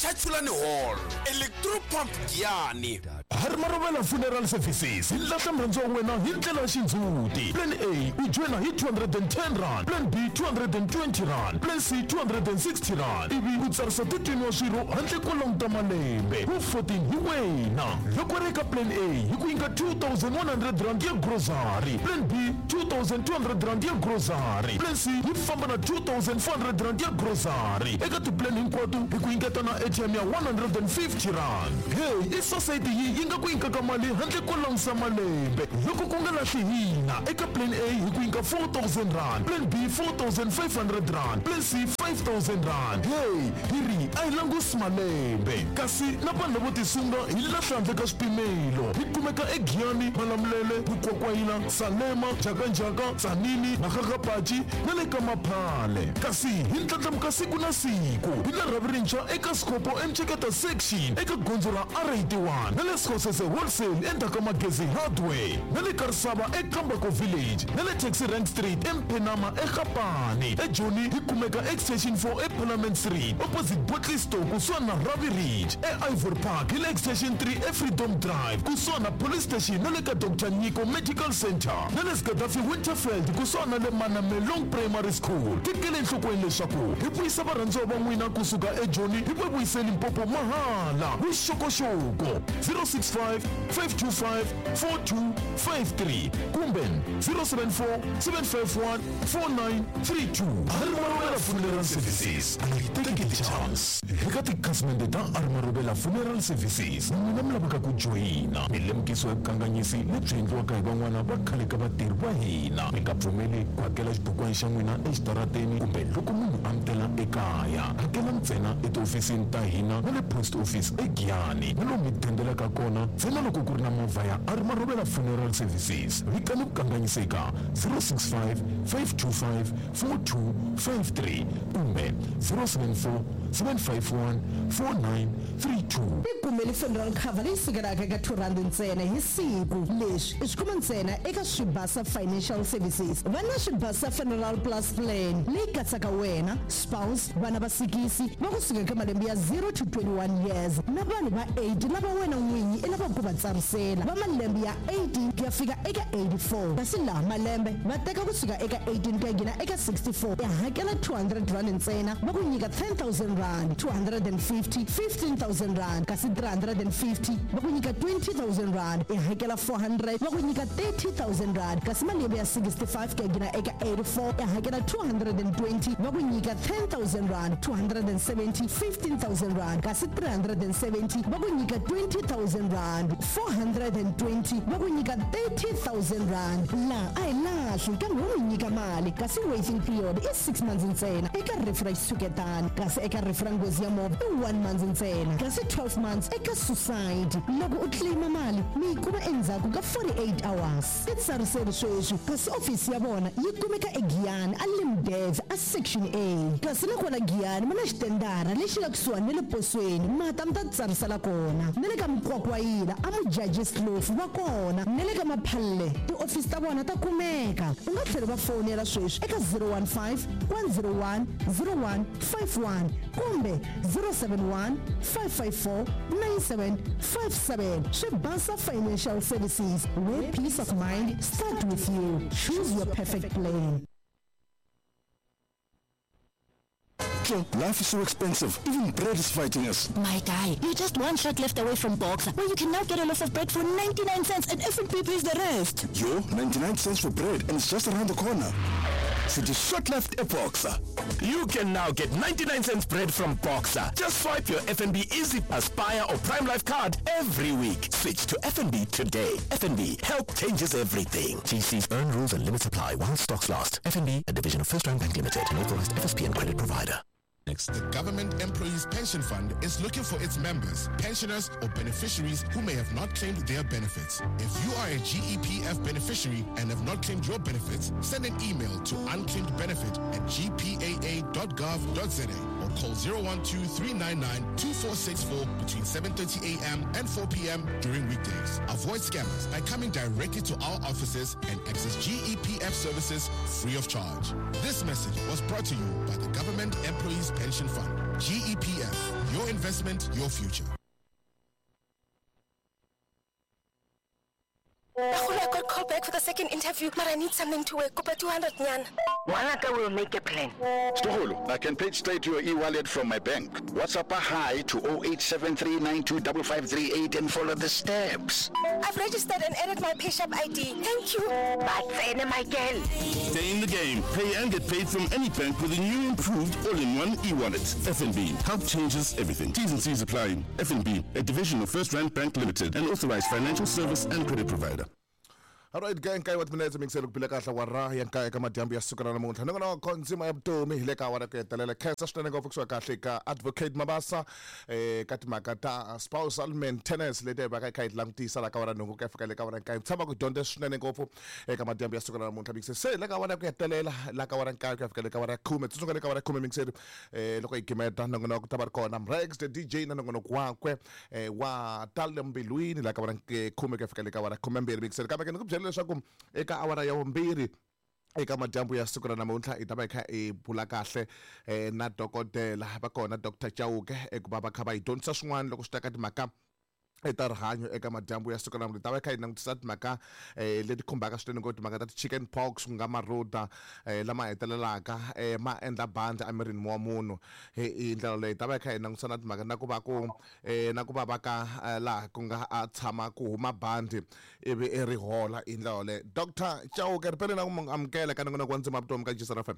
Muchachulani Hall, Electropump Giyani. Harimarovela Funeral Services yi lahla murhandziwa wa wena hi ndlela ya xindzhuti. Plan A u joyina hi 210 rand, Plan B 220 rand, Plan C 260 rand, ivi u tsarisa 13 wa swirho handle ko languta malembe. Wu 14 hi wena. Loko ri eka Plan A hi ku nyika 2100 rand ya grocery, Plan B 2200 rand ya grocery, Plan C yi famba na 2400 rand ya grocery. Eka tiplan hinkwato hi ku nyiketa na airtime ya 150 rand. Hey, i society yi yi nga ku nyikaka mali handle ko langusa malembe. Loko ku nga lahli hina, eka Plan A hi ku nyika 4000 rand, Plan B 4500 rand, Plan C 5000 rand. Hey, hi ri a hi langusi malembe. Kasi na vanhu lavo tisunga hi lahla handle ka swipimelo. Hi kumeka eGiyani, Malamulele, Mukwakwayila, Salema, Njhakanjhaka, Tzaneen, Makgakgapachi na le ka Maphale. Kasi hi ndlandlamuka siku na siku. Hi na rhavi rintshwa eka Sikopo eMceketa Section eka gondzo ra R81 na le Sekgosese Wholesale endzhaku ka Magezi Hardware na le Karisava eKambako Village na le Taxi Rank Street eMphenama eGapane. EJoni hi kumeka Extension 4 eParliament Street opposite Bottle Store kusuhani na Ravi Ridge. E-Ivory Park hi le Extension 3 eFreedom Drive kusuhani na Police Station na le ka Dr Nyiko Medical Center na le Gaddafi Winterfeld kusuhani na le Manamelong Primary School. Tekela enhlokweni leswaku hi vuyisa varhandziwa va n'wina kusuka eJoni hi va vuyise Limpopo mahala. Vuxokoxoko 065 525 4253 kumbe 074 751 4932. Arimarovela Funeral Services, a yi teki ti-chance. Eka tikhasimende ta Arimarovela Funeral Services, n'wina mi lavaka ku joyina milemukiso ya vukanganyisi lebyi endliwaka hi van'wana va khale ka vatirhi va hina. Mi nga pfumeli ku hakela xibukwana xa n'wina exitarateni kumbe loko munhu a mi tela ekaya. Hakela ntsena etihofisini ta hina na le post office eGiyani na lomu mi dendelaka kona ntsena loko ku ri na movha ya Arimarovela Funeral Services. Vikani vukanganyisi eka 065 525 4253 kumbe 074 751 4932. Tikumeli funeral cover leyi sukelaka eka 2 rand ntsena hi siku. Leswi i swi kuma ntsena eka Swibasa Financial Services. Va na Swibasa Funeral Plus Plan leyi katsaka wena, spouse, vana va sikisi va kusuka eka malembe ya 0 to 21 years na vanhu va 8 lava wena n'winyi i lavaka ku va tsarisela va malembe ya 18 ku ya fika eka 84. Kasi laha malembe va teka kusuka eka 18 ku ya nghena eka 64, ya hakela 200 rand ntsena va ku nyika 10000 rand, 250 15000 rand, kasi 350 va ku nyika 20000 rand, ya hakela 400 va ku nyika 30000 rand, kasi malembe ya 65 ku ya nghena eka 84 ya hakela 220 va ku nyika 10000 rand, 270 15000 rand, kasi 370 va ku nyika 20000 rand, 420 va ku nyika 30000 rand. La a hi lahli kambe wo mi nyika mali, kasi waiting period i 6 months ntsena eka rifu ra xitshuketano, kasi eka rifu ra nghozi ya movha i 1 month ntsena, kasi 12 months eka suicide. Loko u claima mali mi yi kuma endzhaku ka 48 hours. Titsariseli sweswi, kasi ofisi ya vona yi kumeka eGiyani a Limdev a Section A, kasi na kona Giyani ma na xitendara lexi nga kusuhani na le posweni, mata mi ta titsarisela kona. Na le ka Mukwakwayila a Mujaji Slofu va kona, na le ka Maphalle tiofisi ta vona ta kumeka. U nga tlhela va fonela sweswi eka 015 101 0151 kumbe 071 554 9757. Swibasa Financial Services, where peace of mind start with you. Choose your perfect plan. Life is so expensive. Even bread is fighting us. My guy, you're just one shot left away from Boxer, where you can now get a loaf of bread for 99 cents and F&B pays the rest. Yo, 99 cents for bread and it's just around the corner. So just shot left a Boxer. You can now get 99 cents bread from Boxer. Just swipe your FNB Easy Aspire or Prime Life card every week. Switch to FNB today. FNB, help changes everything. GC's earn rules and limits apply while stocks last. FNB, a division of First Round Bank Limited, an authorized FSP and credit provider. Next. The Government Employees Pension Fund is looking for its members, pensioners or beneficiaries who may have not claimed their benefits. If you are a GEPF beneficiary and have not claimed your benefits, send an email to unclaimedbenefit@gpaa.gov.za or call 012-399-2464 between 7:30 a.m. and 4 p.m. during weekdays. Avoid scammers by coming directly to our offices and access GEPF services free of charge. This message was brought to you by the Government Employees Pension Fund, GEPF. Your investment, your future. I got called back for the second interview, but I need something to wear. Kopa 200 nyan. Wanaka will make a plan. Stoholo, I can pay straight to your e-wallet from my bank. WhatsApp a hi to 0873925538 and follow the steps. I've registered and added my PayShap ID. Thank you. But Michael. Stay in the game. Pay and get paid from any bank with a new improved all-in-one e-wallet. FNB. Help changes everything. T's and C's apply. FNB, a division of First Rand Bank Limited, an authorized financial service and credit provider. Alright gang, kai wa timinetse mingiselo ku phila kahle wa ra ya nkaya ka madyambu ya siku ra namuntlha ni ngona konzima ya vutomi hi le ka awara ku hetelela khensa swinene ngopfu kusuka kahle ka Advocate Mabasa ka timhaka ta spousal maintenance leti hi vaka hi kha hi langutisa la ka awara nhungu ku ya fika le ka awara nkaye tshama ku dyondza swinene ngopfu eka madyambu ya siku ra namuntlha mingiselo se le ka awara ku hetelela la ka awara nkaye ku ya fika le ka awara ya khume tsundzuka le ka awara ya khume mingiselo loko hi gimeta nongonoko ku ta va ri kona Mrex the DJ na nongonoko wakwe wa tale mbilwini la ka awara khume ku ya fika le ka awara khumembirhi mingiselo kambe ke ni ku byela leswaku eka awara ya vumbirhi eka madyambu ya siku ra namuntlha hi ta va hi kha hi bula kahle na dokodela va kona Dr Chauke ekuva va kha va hi dyondzisa swin'wana loko swi ta ka timhaka ta rihanyo eka madyambu ya siku ra namuntlha hi ta va hi kha hi langutisa timhaka leti khumbaka swinene ngopfu timhaka ta ti-chicken pox ku nga marhuda lama hetelelaka ma endla bandi emirini wa munhu hi ndlela leyi ta va hi kha hi langutisa na timhaka na ku va ku na ku va va ka laha ku nga a tshama ku huma bandi ivi i ri hola hi ndlela yoleyo. Dr Chauke ri pele na ku amukela ka nongonoko wa ndzima vutomi ka Jisara FM.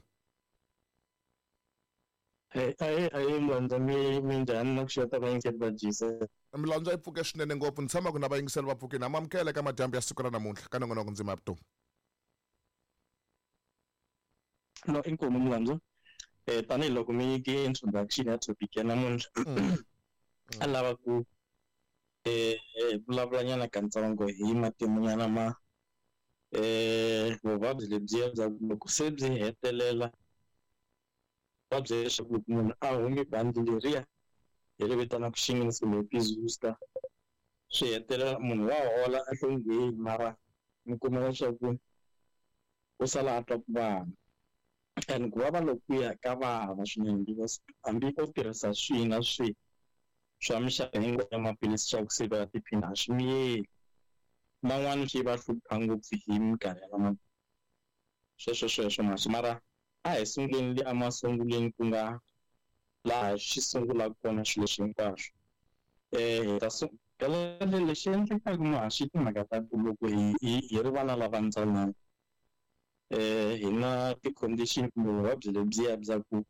Ahe Mlandza, minjhani na ku xota vayingiseri va Jisa? Milandzu yi pfuke swinene ngopfu ni tshama ku na vayingiseri va pfukini ha amukela eka madyambu ya siku ra namuntlha ka nongonoko ndzima ya vutomi. No, inkomu Mlandzu. Tanihiloko mi nyike introduction ya topic ya namuntlha a lava ku vulavulanyana katsongo hi matimunyana ma vuvabyi lebyiya bya loko se byi hetelela vuvabyi leswaku loko munhu a humi bandi leriya hi ri vitanaka shingles kumbe herpes zoster swi hetelela munhu wa hola a hlongehi mara mi kuma leswaku u sala a twa ku vava and ku vava lokuya ka vava swinene because hambi o tirhisa swihi na swihi swa mixaka hinkwayo ya maphilisi swa ku sivela tiphina a swi miyeli man'wani swi va hlupha ngopfu hi minkarhi ya lama sweswo sweswo mara a hi sunguleni le emasungulweni ku nga laha swi sungulaka kona swilo leswi hinkwaswo hi ta lexi endlekaka mahaxi timhaka ta ku loko hi ri vana lava ntsanana hi na ti-condition kumbe vuvabyi lebyiya bya ku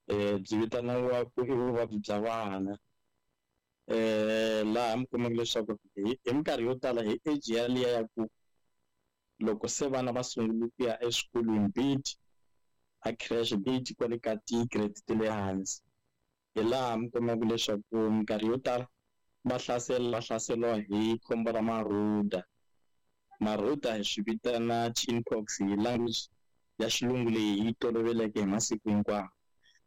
byi vitaniwa ku i vuvabyi bya vana laha mi kumaka leswaku hi minkarhi yo tala hi age yaliya ya ku loko se vana va sungule ku ya eswikolweni bit a creche bit kwale ka ti-grade ta le hansi hi laha mi kumaka leswaku minkarhi yo tala va hlaseriwa hi khombo ra marhuda. Marhuda hi swi vitana chinpox hi language ya xilungu leyi yi toloveleke hi masiku hinkwawo.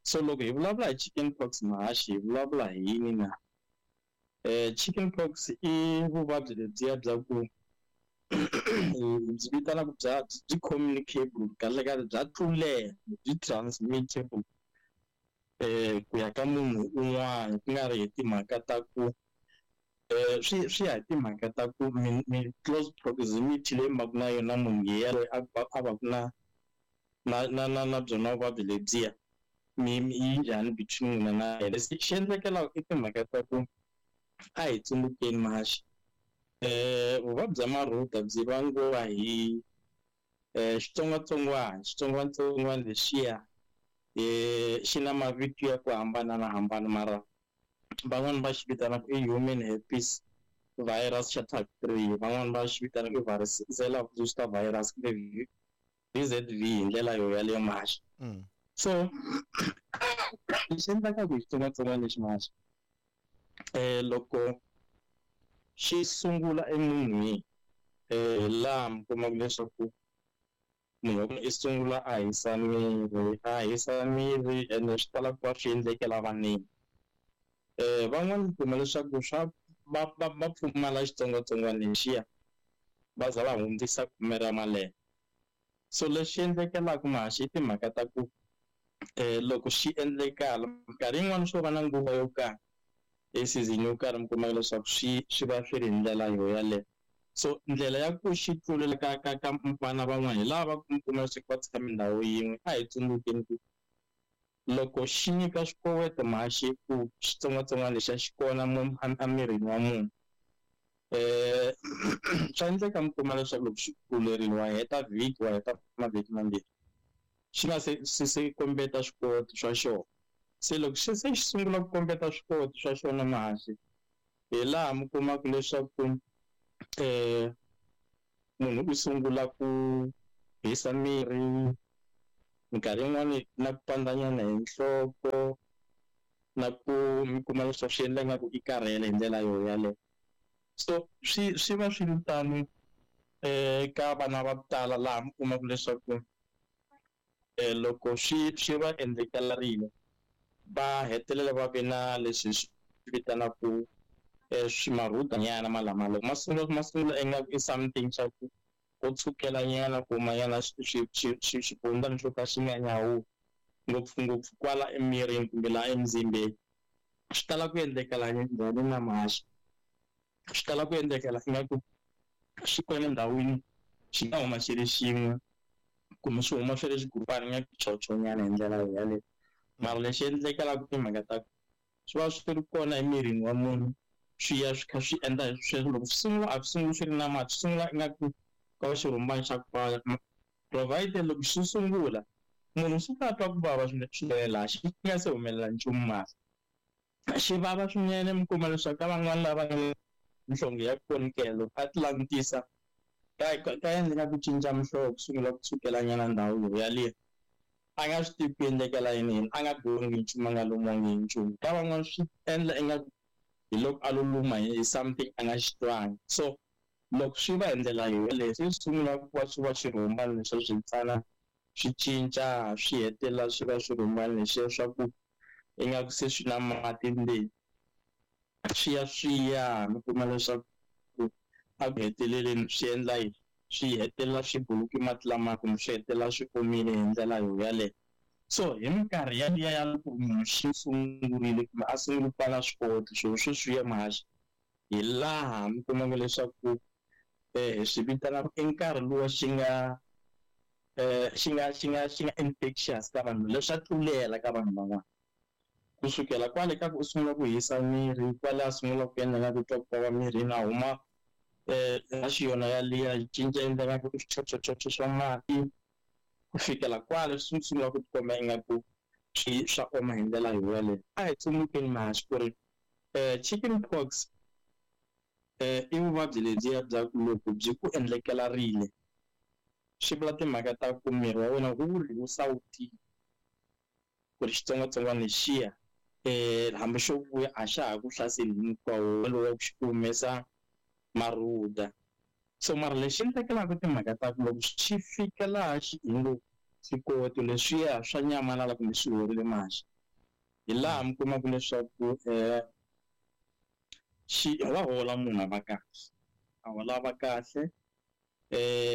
So loko hi vulavula hi chicken pox mahaxi hi vulavula hi yini na? Chicken pox i vuvabyi lebyiya bya ku byi vitanaka bya byi communicable kahle kahle bya tlulela byi transmittable ku ya ka munhu un'wana ku nga ri hi timhaka ta ku swi ya hi timhaka ta ku mi close proximity leyi mi va ku na yona munhu yelweyo a va ku na na byona vuvabyi lebyiya mi yi njhani between n'wina na yena. Lexi xi endlekelaka i timhaka ta ku a hi tsundzukeni mahaxi vuvabyi bya marhuda byi vangiwa hi xitsongwatsongwana lexiya xi na mavito ya ku hambanahambana mara van'wani va xi vitanaka i human herpes virus xa type 3 van'wani va xi vitanaka i varicella zoster virus kumbe VZV hi ndlela yo yaleyo mahaxi. So lexi endlekaka hi xitsongwatsongwana lexi mahaxi loko xi sungula emunhwini laha mi kumaka leswaku munhu wa kona i sungula a hisa miri ene swi tala ku va swi endlekela vaneni. Van'wani mi kuma leswaku swa va pfumala xitsongwatsongwana lexiya va za va hundzisa khume ra malembe. So lexi endlekelaka mahaxi i timhaka ta ku Loko swi endlekala minkarhi yin'wana swo va na nguva yo karhi e season yo karhi mi kumaka leswaku swi va swi ri hi ndlela yo yaleyo. So ndlela ya ku xi tlulela ka vana van'wana hi lava mi kuma leswaku va tshame ndhawu yin'we. A hi tsundzukeni ku loko xi nyika swikoweto mhaxi ku xitsongwatsongwana lexiya xi kona emirini wa munhu, swa endleka mi kuma leswaku loko xi tlulerile wa heta vhiki, wa heta mavhiki mambirhi xi nga se kombeta swikoweto swa xona. Se loko xi se xi sungula ku kombeta swikoweto swa xona mahaxi, hi laha mi kumaka leswaku munhu u sungula ku hisa miri, minkarhi yin'wani na ku pandzanyana hi nhloko, na ku mi kuma leswaku swi endla ingaku i karhele hi ndlela yo yaleyo. So swi va swi ri tano ka vana va ku tala laha mi kumaka leswaku loko swi va endlekelarile va hetelela va ve na leswi swi vitanaka swimarhudanyana malama. Loko ma sungula ingaku i something xa ku ko tshukelanyana kumanyana xibundana xo ka xi nga nyawuli ngopfungopfu kwala emirini kumbe laha emzimbeni. Swi tala ku endlekela njhani na mahaxi? Swi tala ku endlekela ingaku xi kona endhawini xi nga huma xi ri xin'we kumbe swi huma swi ri xigurupana ingaku chochonyana hi ndlela yaleyo. Mara lexi endlekelaka timhaka ta swi va swi ri kona emirini wa munhu, swi ya swi kha swi endla sweswo. Loko swi sungula a swi sunguli swi ri na mati, swi sungula ingaku ka xirhumbana xa ku pfala. Provided loko xi sungula munhu swi ta twa ku vava swinene laha xi nga se humelela nchumu mara xi vava swinene. Mi kuma leswaku ka van'wani lava nga nhlonge ya konikelo a ti langutisa ka endleka ku cinca muhlovo ku sungula ku tshukelanyana ndhawu yo yaliya, a nga swi tivi ku endlekela yini yini, a nga gongi nchumu, a nga lumiwangi hi nchumu. Ka van'wani swi endla ingaku hi loko a lo luma hi something a nga xi twangi. So loko swi va hi ndlela yaleyo se swi sungula ku va swi va xirhumbana leswiya swi tsana swi cinca swi hetelela swi va swirhumbana leswiya swa ku ingaku se swi na mati ndzeni, swi ya swi ya mi kuma leswaku a ku heteleleni swi endla yini, swi hetelela swi buluki mati lamaya kumbe swi hetelela swi omile hi ndlela yo yaleyo. So hi minkarhi yaliya ya loko munhu xi sungurile kumbe a sungule ku va na swikoweto swilo sweswiya mahaxi, hi laha mi kumaka leswaku hi swi vitanaka i nkarhi luwa xi nga xi nga infectious ka vanhu, leswi swa tlulela ka vanhu van'wana. Kusukela kwale ka ku u sungula ku hisa miri, kwale a sungula ku endla nga ku twa ku vava mirini, a huma raxi yona yaliya yi cinca endla nga ku swichochochocho swa mati, ku fikela kwale swi sungula ku tikomba ingaku swi swa oma hi ndlela yo yaleyo. A hi tsundzukeni mahaxi ku ri chicken pox i vuvabyi lebyiya bya ku loko byi ku endlekelarile swi vula timhaka ta ku miri wa wena wu ri wu sawutile ku ri xitsongwatsongwana lexiya hambi xo vuya a xa ha ku hlaseli hinkwawo lowu wa ku xi humesa marhuda. So mara lexi endlekelaka timhaka ta ku loko xi fika laha xi hi ngo swikoweto leswiya swa nyamalala kumbe swi horile mahaxi, hi laha mi kumaka leswaku xi wa hola munhu a va kahle, a hola a va kahle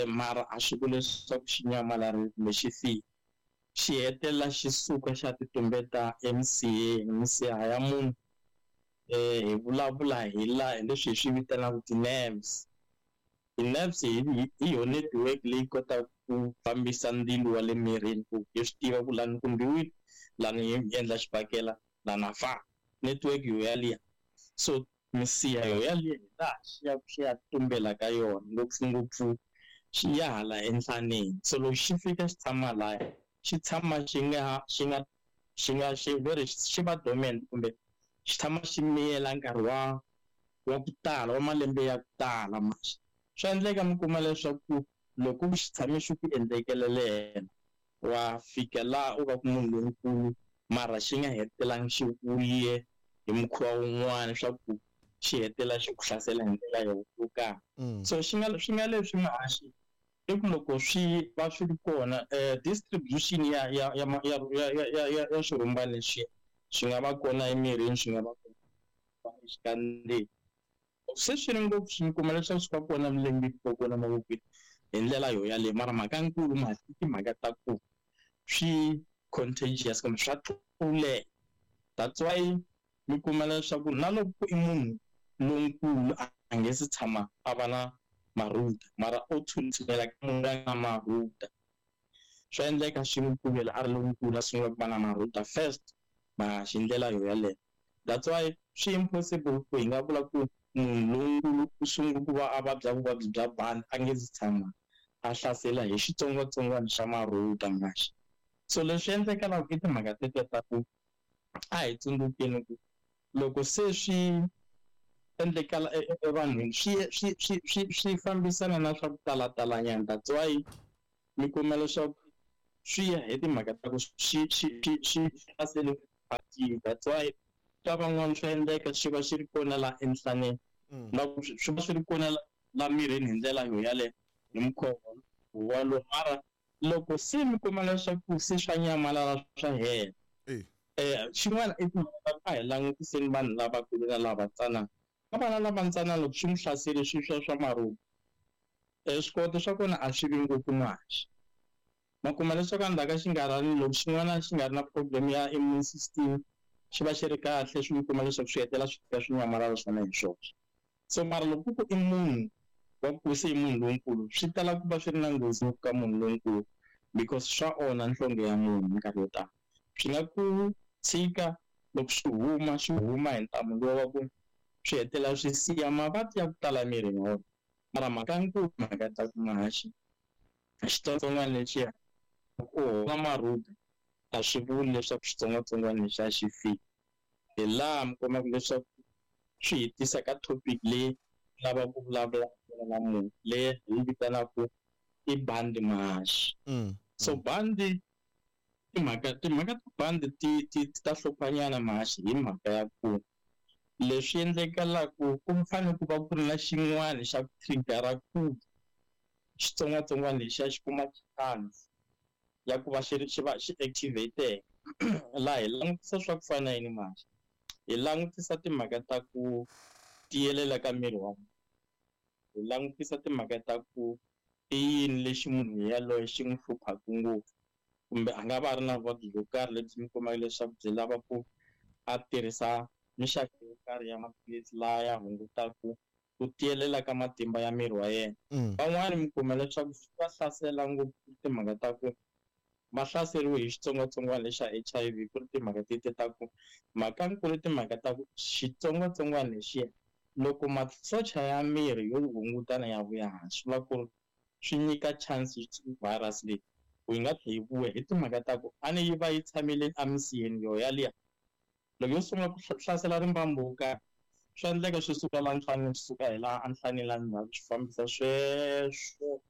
mara a swi vuli leswaku xi nyamalarile kumbe xi file. Xi hetelela xi suka xa ti tumbeta emisiheni, misiha ya munhu hi vulavula hi laha hi leswi hi swi vitanaka ti-nerves. Ti-nerves hi yona network leyi kotaka ku fambisa ndzilo wa le mirini ku hi swi tiva ku lani kumbiwile, lani hi endla xibakela, lani a fa. Network yo yaliya. So misiha yo yaliya hi laha xi ya xi ya tumbela ka yona ngopfungopfu xi ya hala enhlaneni. So loko xi fika xi tshama laya, xi tshama xi nga xi nga xi nga xi very xi va dormant kumbe xi tshama xi miyela nkarhi wa ku tala, wa malembe ya ku tala maxi. Swa endleka mi kuma leswaku loko xi tshame xi ku endlekelele wa fika laha u va ku munhu lonkulu mara xi nga hetelangi xi vuye hi mukhuva wun'wana swa ku xi hetelela xi ku hlasela hi ndlela yo karhi. So swi nga leswi mahaxi i ku loko swi va swi ri kona distribution ya ya ya ya ya ya ya swirhumbana leswiya swi nga va kona emirini, swi nga va kona exikandzeni. Se swi ri ngopfu swi kuma leswaku swi va kona milengeni, swi va kona mavokweni hi ndlela yo yaleyo. Mara mhaka nkulu mhaka i timhaka ta ku swi contagious kumbe swa tlulela. That's why mi kuma leswaku na loko i munhu lonkulu a nge se tshama a va na marhuda, mara o tshuntshulela ka munhu loyi a nga na marhuda, swa endleka swi n'wi pfumela a ri lonkulu a sungula ku va na marhuda first, ma hi ndlela yo yaleyo. That's why swi impossible ku hi nga vula ku munhu lonkulu u sungula ku va a vabya vuvabyi bya bandi a nge se tshama a hlasela hi xitsongwatsongwana xa marhuda maxi. So leswi endlekalaka i timhaka tete ta ku a hi tsundzukeni ku loko se swi endlekala evanhwini swi fambisana na swa ku talatalanyana. That's why mi kuma leswaku swi ya hi timhaka ta ku swi hlasele. That's why ka van'wana swa endleka swi va swi ri kona la enhlaneni, na swi va swi ri kona la mirini hi ndlela yo yaleyo hi mukhuva walowo. Mara loko se mi kuma leswaku se swa nyamalala swa hela, xin'wana i timhaka ta a hi langutiseni vanhu lavakulu na lava tsanana. Ka vana lava ntsanana loko swi n'wi hlasele swi swa marhuda, swikoweto swa kona a swi vi ngopfu muhaxi. Ma kuma leswaku endzhaku ka xinkarhana loko xin'wana xi nga ri na problem ya immune system, xi va xi ri kahle, swi kuma leswaku swi hetelela swi fika swi nyamalala swona hi swoxe. So mara loko ku i munhu wa ku se i munhu lonkulu, swi tala ku va swi ri na nghozi ngopfu ka munhu lonkulu because swa onha nhlonge ya munhu minkarhi yo tala. Swi nga ku tshika loko swi huma, swi huma hi ntamu luwa wa ku swi hetelela swi siya mavabyi ya ku tala emirini wa wena. Mara mhaka nkulu mhaka ta ku mahaxi xitsongwatsongwana lexiya u hola marhuda a swi vuli leswaku xitsongwatsongwana lexiya xi fika. Hi laha mi kumaka leswaku swi hi tisa ka topic leyi lava ku vulavula na munhu leyi hi yi vitanaka i bandi mahaxi. So bandi timhaka ta bandi ti ta hluphanyana mahaxi hi mhaka ya ku leswi endlekalaku ku fanele ku va ku ri na xin'wana xa ku trigger ku xitsongwatsongwana lexiya xi kuma chance ya ku va xi xi va xi activate. Laha hi langutisa swa ku fana na yini mahaxi? Hi langutisa timhaka ta ku tiyelela ka miri wa munhu, hi langutisa timhaka ta ku i yini lexi munhu yaloye xi n'wi hluphaka ngopfu, kumbe a nga va a ri na vuvabyi byo karhi lebyi mi kumaka leswaku byi lava ku a tirhisa mixaka yo karhi ya maphilisi laha ya hungutaka ku tiyelela ka matimba ya miri wa yena. Van'wani mi kuma leswaku swi va hlasela ngopfu timhaka ta ku va hlaseriwe hi xitsongwatsongwana lexa HIV, ku ri timhaka tete ta ku mhaka nkulu timhaka ta ku xitsongwatsongwana lexiya loko masocha ya miri yo hungutana ya vuya hansi, swi vula ku ri swi nyika chance virus leyi ku yi nga tlhe yi vuya hi timhaka ta ku a ni yi va yi tshamile emisiheni yo yaliya. Loko yo sungula ku hlasela rimbambu wo karhi, swa endleka swi suka la nhlaneni, swi suka hi laha enhlaneni la ndzhaku, swi fambisa sweswo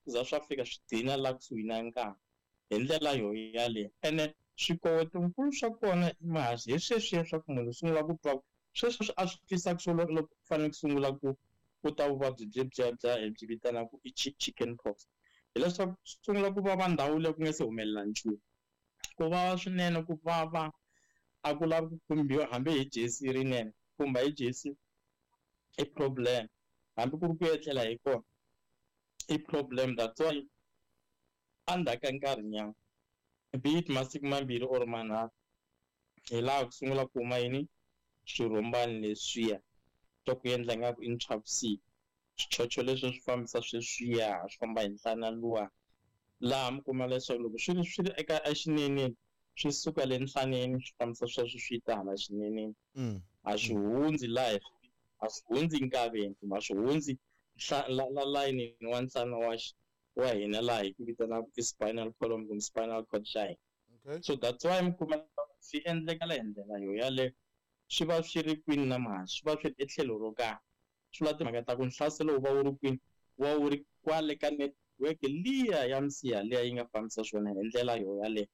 ku za swa fika swi gcina la kusuhi na nkava hi ndlela yo yaleyo. Ene swikowetonkulu swa kona i mahaxi hi sweswiya swa ku munhu u sungula ku twa sweswo a swi twisaka swona loko ku fanele ku sungula ku ta vuvabyi byebyiya bya hi byi vitanaka i chicken pox, hileswaku sungula ku vava ndhawu leyi ku nga se humelela nchumu, ku vava swinene, ku vava a ku lavi ku khumbiwa hambi hi jesi rinene, khumba hi jesi i problem, hambi ku ri ku etlela hi kona i problem. That's why endzhaku ka nkarhinyana, be it masiku 2 or 3, hi laha ku sungula ku huma yini swirhumbani leswiya swa ku endla ingaku i nchavusiku, swichocho leswi swi fambisa sweswiya swi famba hi nhlana luwa, laha mi kuma leswaku loko swi ri eka exineneni swi suka le nhlaneni swi fambisa sweswo swi ta hala xineneni, a swi hundzi laha, a swi hundzi nkaveni kumbe a swi hundzi la layinini wa nhlana wa hina laha hi ku vitanaka i spinal column kumbe spinal cord xa hina. So that's why mi kuma swi endlekala hi ndlela yo yaleyo, swi va swi ri kwini na mahaxi, swi va swi ri etlhelo ro karhi. Swi vula timhaka ta ku nhlaselo wu va wu ri kwini, wu va wu ri kwale ka network liya ya misiha liya yi nga fambisa swona hi ndlela yo yaleyo.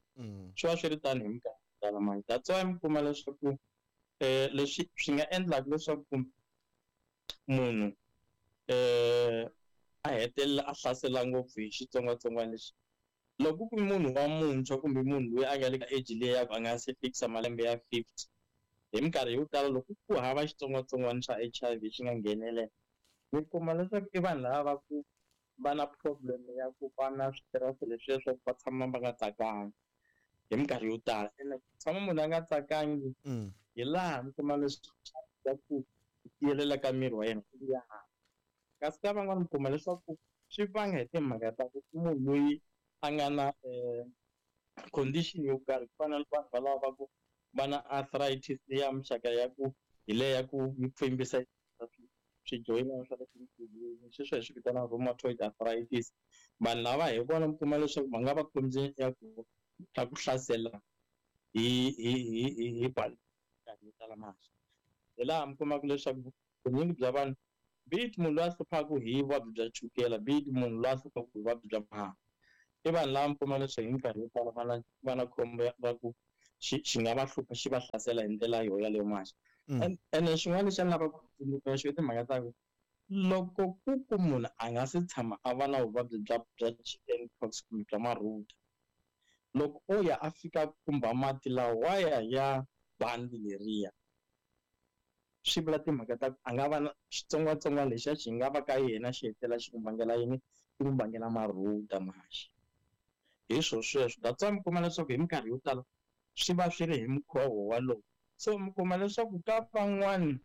Swi va swi ri tano hi minkarhi yo tala manje. That's why mi kuma leswaku leswi swi nga endlaka leswaku munhu a hetelela a hlasela ngopfu hi xitsongwatsongwana lexi, loko ku munhu wa muntshwa kumbe munhu loyi a nga le ka age leyi ya ku a nga se fikisa malembe ya 50, hi minkarhi yo tala loko ku hava xitsongwatsongwana xa HIV xi nga nghenelela, mi kuma leswaku i vanhu lava va ku va na problem ya ku va na switirese leswiya swa ku va tshama va nga tsakanga. Hi minkarhi yo tala ene ku tshama munhu a nga tsakangi hi laha mi kuma leswaku ku tiyelela ka miri wa yena ku ya hansi. Kasi ka van'wana mi kuma leswaku swi vanga hi timhaka ta ku munhu loyi a nga na condition yo karhi, ku fana na vanhu valava va ku va na arthritis leya muxaka ya ku hi leya ya ku yi pfimbisa swijoyinana swa le tinsulwini, sweswo hi swi vitana rheumatoid arthritis. Vanhu lava hi vona mi kuma leswaku va nga va khombyeni ya ku ta ku hlasela hi bali yo tala mali. Hi laha mi kumaka leswaku vunyingi bya vanhu, be it munhu loyi a hluphaka hi vuvabyi bya chukela, be it munhu loyi a hluphaka hi vuvabyi bya mahahu, i vanhu lava mi kuma leswaku hi minkarhi yo tala va na khombo ra ku xi nga va hlupha, xi va hlasela hi ndlela yo yaleyo manje. Ene xin'wana lexi a ni lavaka ku tsundzuka xo i timhaka ta ku loko ku munhu a nga se tshama a va na vuvabyi bya chicken pox kumbe bya marhuda, loko o ya a fika khumba mati lawaya ya bandi leriya, swi vula timhaka ta ku a nga va na xitsongwatsongwana lexiya xi nga va ka yena xi hetelela xi n'wi vangela yini, xi n'wi vangela marhuda manje. Hi swo sweswo, that's why mi kuma leswaku hi minkarhi yo tala swi va swi ri hi mukhovo walowo. So mi kuma leswaku ka van'wani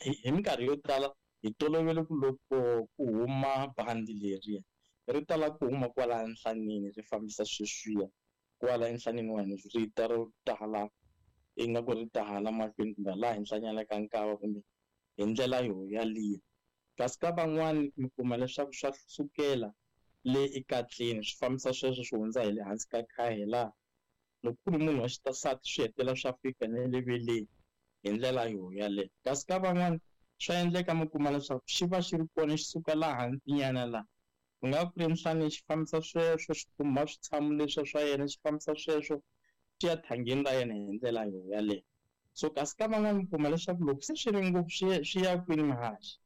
hi minkarhi yo tala hi tolovele ku loko ku huma bandi leriya ri tala ku huma kwala nhlaneni, ri fambisa sweswiya kwala enhlaneni wa hina, ri ta ro tala ingaku ri ta hala mahlweni kumbe laha henhlanyana ka nkava kumbe hi ndlela yo yaliya. Kasi ka van'wani mi kuma leswaku swa sukela le ekatleni swi fambisa sweswo swi hundza hi le hansi ka khaya, laha loko ku ri munhu wa xisati swi hetelela swa fika na le veleni hi ndlela yo yaleyo. Kasi ka van'wani swa endleka mi kuma leswaku xi va xi ri kona xi suka laha hansinyana laha ku nga ku ri enhlaneni, xi fambisa sweswo xi khumba switshamo leswiya swa yena, xi fambisa sweswo xi ya thangeni ra yena hi ndlela yo yaleyo. So kasi ka van'wani mi kuma leswaku loko se swi ri ngopfu swi ya kwini mahaxi,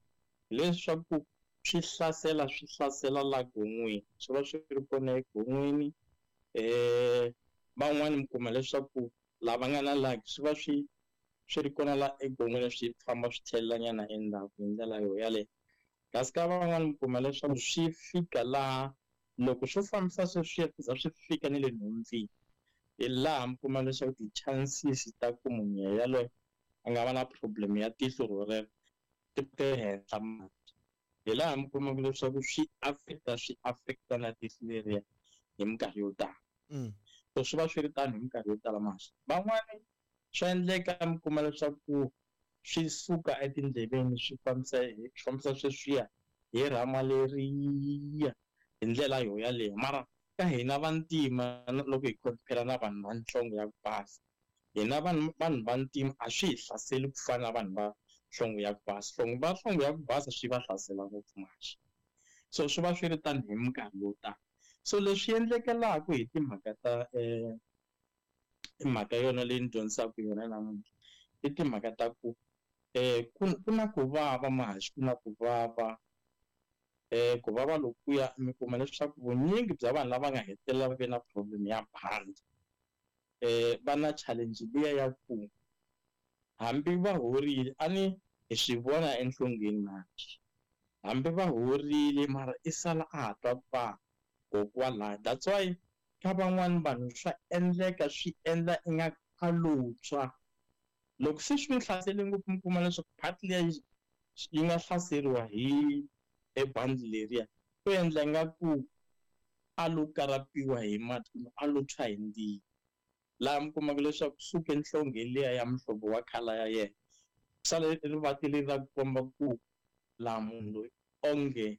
hileswaku swi hlasela la gon'weni, swi va swi ri kona egon'weni. Van'wani mi kuma leswaku lava nga na luck swi va swi ri kona la egon'weni, swi famba swi tlhelelanyana endzhaku hi ndlela yo yaleyo. Kasi ka van'wani mi kuma leswaku swi fika laha loko swo fambisa sweswiya swi za swi fika ni le nhompfini, hi laha mi kuma leswaku ti-chances ta ku munhu yaloye a nga va na problem ya tihlo rorero ti henhla manje. Hi laha mi kumaka leswaku swi affecta na tihlo leriya hi minkarhi yo tala. So swi va swi ri tano hi minkarhi yo tala manje. Van'wani swa endleka mi kuma leswaku swi suka etindleveni swi fambisa sweswiya hi rhama leriya hi ndlela yo yaleyo. Mara ka hina vantima loko hi compare na vanhu va nhlonge ya ku basa, hina vanhu vantima a swi hi hlaseli ku fana na vanhu va nhlonge ya ku basa. Va nhlonge ya ku basa swi va hlasela ngopfu manje. So swi va swi ri tano hi minkarhi yo tala. So leswi endlekelaka hi timhaka ta mhaka yona leyi ni dyondzisaka yona namuntlha i timhaka ta ku ku na ku vava mahaxi, ku na ku vava ku vava lokuya mi kuma leswaku vunyingi bya vanhu lava nga hetelela va ve na problem ya bandi va na challenge liya ya ku hambi va horile, a ni hi swi vona enhlongeni manje, hambi va horile mara i sala a ha twa ku vava kokwalaho. That's why ka van'wani vanhu swa endleka swi endla ingaku a lo tshwa. Loko se swi n'wi hlasele ngopfu mi kuma leswaku part liya yi nga hlaseriwa hi ebandi leriya, ku endla ingaku a lo karapiwa hi mati kumbe a lo tshwa hi ndzilo. Laha mi kumaka leswaku suke nhlonge liya ya muhlovo wa colour ya yena, sale rivati leri ra ku komba ku laha munhu loyi onge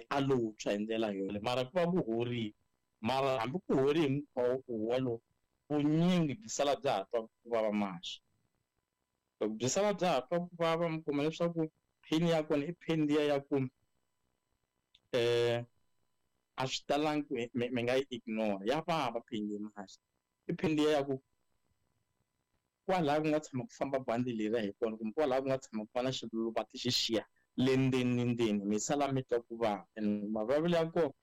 a lo tshwa hi ndlela yona, mara ku va ku horile. Mara hambi ku horile hi mukhuva wolowo, vunyingi byi sala bya ha twa ku vava manje. Loko byi sala bya ha twa ku vava, mi kuma leswaku pain ya kona i pain liya ya ku a swi talangi ku mi nga yi ignore, ya vava pain leyi manje. I pain liya ya ku kwalaho ku nga tshama ku famba bandi leriya hi kona, kumbe kwalaho ku nga tshama ku va na xiluvati xi xiya le ndzeni ndzeni, mi sala mi twa ku vava. And mavavelo ya kona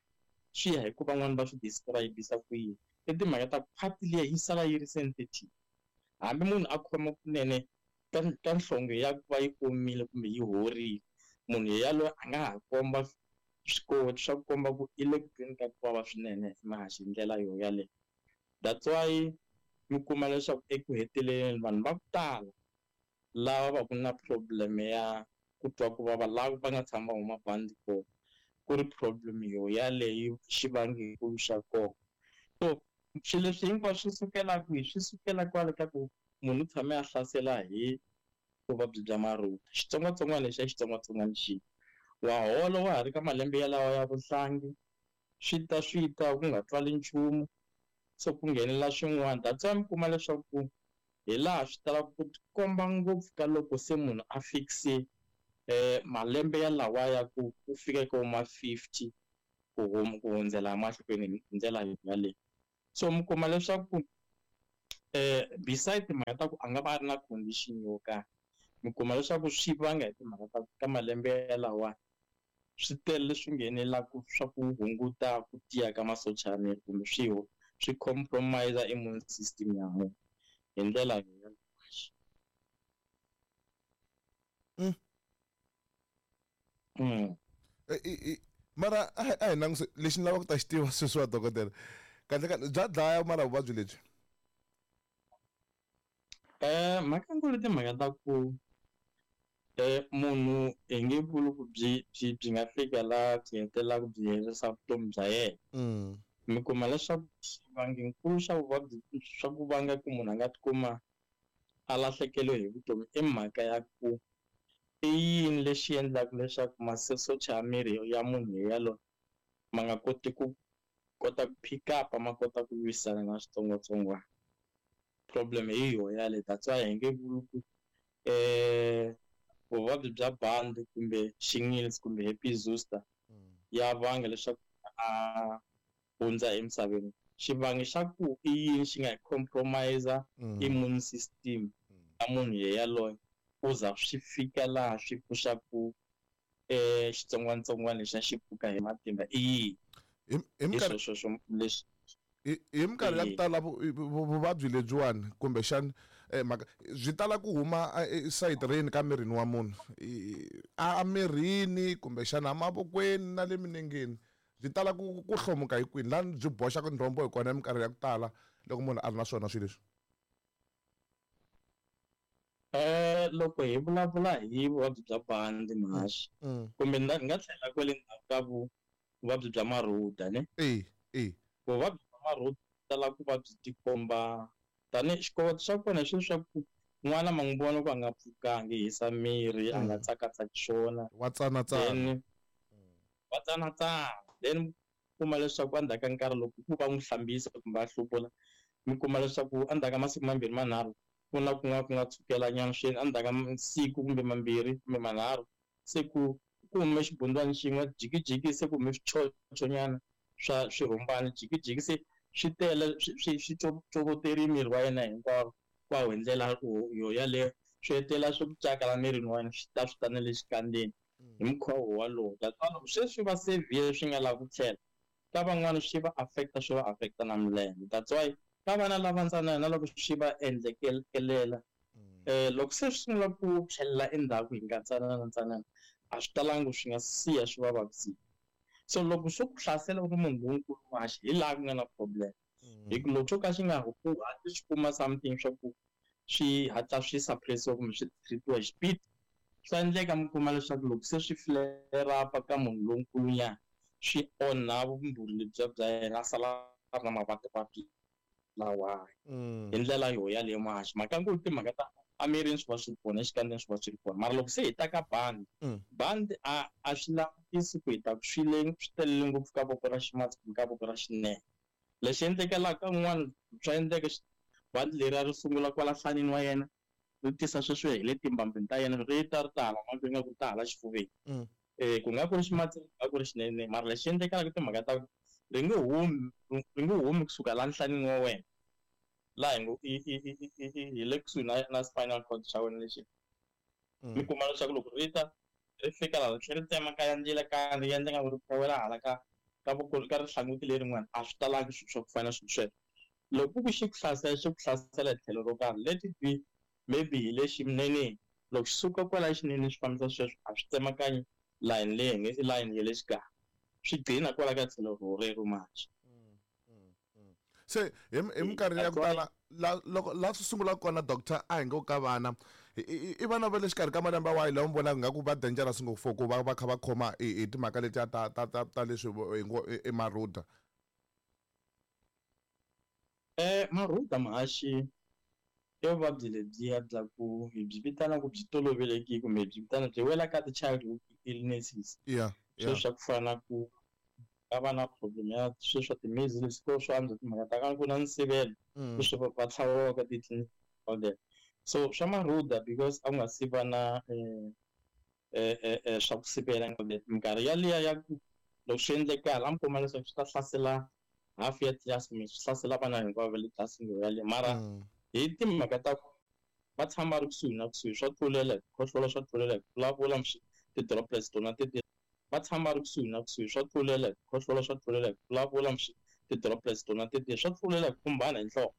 swi ya hi ku van'wani va swi describe-isa ku yini. I timhaka ta ku part liya yi sala yi ri sensitive, hambi munhu a khoma kunene ka nhlonge ya ku va yi omile kumbe yi horile, munhu yaloye a nga ha komba swikoti swa ku komba ku i le ku tweni ka ku vava swinene mahaxi hi ndlela yo yaleyo. That's why mi kuma leswaku eku heteleleni vanhu va ku tala lava va ku na problem ya ku twa ku vava lava va nga tshama va huma bandi kona ku ri problem yo yaleyo xivangelo xa kona. So swilo leswi hinkwaswo swi sukela kwihi? Swi sukela kwale ka ku munhu u tshame a hlasela hi vuvabyi bya marhuda, xitsongwatsongwana lexi a xitsongwatsongwana xi wa hola wa ha ri ka malembe yalawa ya vuhlangi, swi ta ku nga twali nchumu, se ku nghenelela swin'wana. That's why mi kuma leswaku hi laha swi talaka ku tikomba ngopfu ka loko se munhu a fikise malembe yalawa ya ku fika ka ma 50 ku hundzela mahlweni hi ndlela yaleyo. So mi kuma leswaku beside timhaka ta ku a nga va a ri na condition yo karhi, mi kuma leswaku swi vanga hi timhaka ta ka malembe yalawa swi tele leswi nghenelaka swa ku hunguta ku tiya ka masocha ya miri kumbe swi compromise immune system ya munhu hi ndlela yaleyo. Mara a hi languse lexi ni lavaka ku ta xi tiva sweswi wa dokodela, kahle kahle bya dlaya mara vuvabyi lebyi? Mhaka nkulu timhaka ta ku munhu hi nge vuli ku byi nga fika laha byi hetelelaka byi herisa vutomi bya yena. Mi kuma leswaku xivangenkulu xa vuvabyi swa ku vanga ku munhu a nga tikuma a lahlekeriwe hi vutomi i mhaka ya ku i yini lexi endlaka leswaku masocha ya miri ya munhu yaloye ma nga koti ku kota ku pick up, ma kota ku lwisana na switsongwatsongwana. Problem hi yo yaleyo. That's why hi nge vuli ku vuvabyi bya bandi kumbe shingles kumbe herpes zoster ya vanga leswaku a hundza emisaveni. Xivangi xa ku i yini xi nga compromise immune system ya munhu yaloye ku za swi fika laha swi pfuxaku xitsongwatsongwana lexi xi pfuka hi matimba i yini? Hi minkarhi ya ku tala vuvabyi lebyiwani kumbexani mhaka byi tala ku huma esayiti ka mirini wa munhu, a mirini kumbexana emavokweni na le minengeni, byi tala ku hlomuka hi kwini laha byi boxaka ndzhombo hi kona minkarhi ya ku tala loko munhu a ri na swona swilo leswi? Loko hi vulavula hi vuvabyi bya bandi mhaxi kumbe ni nga tlhela kwale ndzhaku ka vuvabyi bya marhuda ne? Vuvabyi bya marhuda tala ku va byi tikomba tanihi xikoweto xa kona xi leswaku n'wana ma n'wi vona ku a nga pfukangi, hisa miri, a nga tsakatsaki swona, wa tsanatsana, wa tsanatsana. Then kuma leswaku endzhaku ka nkarhi loko ku va n'wi hlambisa kumbe a hluvula, mi kuma leswaku endzhaku ka masiku mambirhi manharhu ku na kun'wana ku nga tshukelanyana swinene, endzhaku ka siku kumbe mambirhi kumbe manharhu se ku hume xibundwani xin'we jikijiki, se ku hume swichochonyana swa swirhumbani jikijiki, se swi tele swi covoteri miri wa yena hinkwawo hi ndlela yo yaleyo, swi hetelela swi ku caka la mirini wa yena, swi ta swi ta na le xikandzeni hi mukhuva wolowo. That's why loko sweswi va severe swi nga lavi ku tlhela ka van'wana swi va affecta, swi va affecta na milenge. That's why ka vana lava ntsanana na loko swi va endlekelela loko se swi sungula ku tlhelela endzhaku hi nga ntsanana ntsanana a swi talangi swi nga siya swi va vavisile. So loko swo ku hlasela u ri munhu lonkulu mhaxi hi laha ku nga na problem, hi ku loko swo ka swi nga ku hatli swi kuma something swa ku swi hatla swi suppressiwa kumbe swi treatiwa hi xipidi, swa endleka mi kuma leswaku loko se swi flare up ka munhu lonkulu nyana swi onha vumbhuri lebyiya bya yena, a sala a ri na mavabyi lawa hi ndlela yo yaleyo mhaxi. Mhaka nkulu timhaka ta emirini swi va swi ri kona, exikandzeni swi va swi ri kona, mara loko se hi ta ka bandi, bandi a swi langutisi ku hi ta ku swi telele ngopfu ka voko ra ximatsi kumbe ka voko ra xinene. Lexi endlekelaka un'wana swa endleka bandi leri ri sungula kwala nhlanini wa yena ri tisa sweswo hi le timbambini ta yena, ri ta ri ta hala mahlweni nga ku ri ta hala xifuveni, ku nga ku ri ximatsi ku nga ku ri xinene, mara lexi endlekelaka timhaka ta ku ri nge humi kusuka laha nhlanini wa wena laha hi le kusuhi na spinal cord xa wena lexi. Mi kuma leswaku loko ri ta ri fika laha ri tlhela ri tsemakanya ndlela ka ri endla nga ku ri khowela hala ka voko ka rihlanguti lerin'wana, a swi talangi swilo swa ku fana na swilo sweswo. Loko ku xi ku hlasela, xi ku hlasela hi tlhelo ro karhi, let it be maybe hi le xineneni, loko xi suka kwala xineneni swi fambisa sweswo a swi tsemakanyi line leyi i line ya le xikarhi, swi gcina kwala ka tlhelo rero manje. Se hi minkarhi ya ku tala la loko la swi sungulaka kona, doctor, a hi ngo ka vana i vana va le xikarhi ka malembe wahi lawa mi vonaka nga ku va dangerous ngopfu for ku va va kha va khoma hi timhaka letiya ta leswi hi ngo i marhuda? Marhuda, mahaxi, i vuvabyi lebyiya bya ku hi byi vitana ku byi tolovelekile, kumbe hi byi vitana byi wela ka ti-childhood illnesses. Sweswi swa ku fana na ku va va na problem ya swilo swa ti-measles, ko swo antswa timhaka ta ka ku na nsivelo, leswi va tlhaviwaka titliliniki, all that. So swa marhuda, because a ku nga si va na swa ku sivela, minkarhi yaliya ya ku loko swi endlekala, a mi kuma leswaku swi ta hlasela half ya tlilasi kumbe swi hlasela vana hinkwavo va le tlilasini yaleyo. Mara hi timhaka ta ku va tshama va ri kusuhi na kusuhi, swa tlulela hi ku khohlola, swa tlulela hi ku vulavula, ti-droplets tona teti. Va tshama va ri kusuhi na kusuhi, swa tlulela hi ku khohlola, swa tlulela hi ku vulavula, ti-droplets tona teti, swa tlulela hi ku khumbana hi nhloko.